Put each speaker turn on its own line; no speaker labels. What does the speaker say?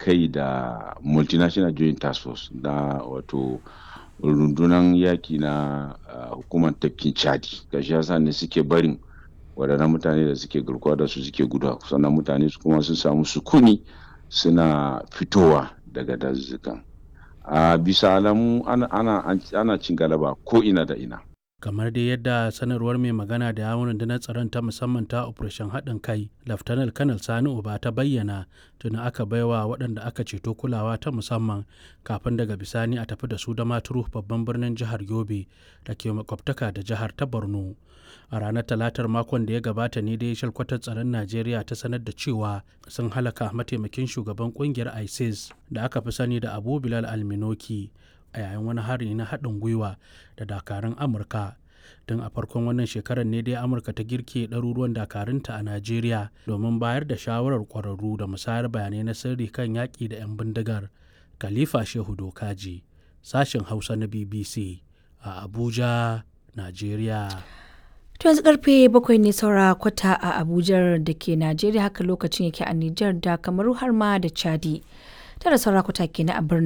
kai da Multinational Joint Task Force na, wato rundunan yaki na hukumar tafkin Chadi. Gashi yasa ne suke barin waɗannan mutane da suke garkuwa da su suke guduwa, sannan mutane su kuma sun samu sukuni suna fitowa daga dazuzzukan. A bisa alamu ana cin galaba ko ina da ina.
Kamar dai yadda sanarwar mai magana da yawun rundunar tsaron ta musamman ta Operation Haɗin Kai, Laftanar Kanal Sani Uba, ta bayyana, tuni aka baiwa waɗanda aka ceto kulawa ta musamman kafin daga bisani a tafi da su da Maturu, babban birnin jihar Yobe da ke makwabtaka da jihar ta Borno. A ranar Talatar makon da ya gabata ne dai shalkwatar tsaron Najeriya ta sanar da cewa sun halaka mataimakin shugaban kungiyar ISIS da aka fi sani da Abu Bilal Alminoki a yayin wani hari na haɗin gwiwa da dakarun Amurka. Tun a farkon wannan shekarar ne dai Amurka ta girke ɗaruruwan dakarunta a Najeriya domin bayar da shawarar ƙwararru da musayar bayanai na sirri kan yaƙi da 'yan bindigar. Khalifa Shehu Dokaji, sashen Hausa na BBC a Abuja, Najeriya.
To yanzu karfe 7 ne saura kwata a Abuja da ke Najeriya, haka lokacin yake a Nijar da Kamaru har ma da Chadi. 9 saura kwata kenan a birnin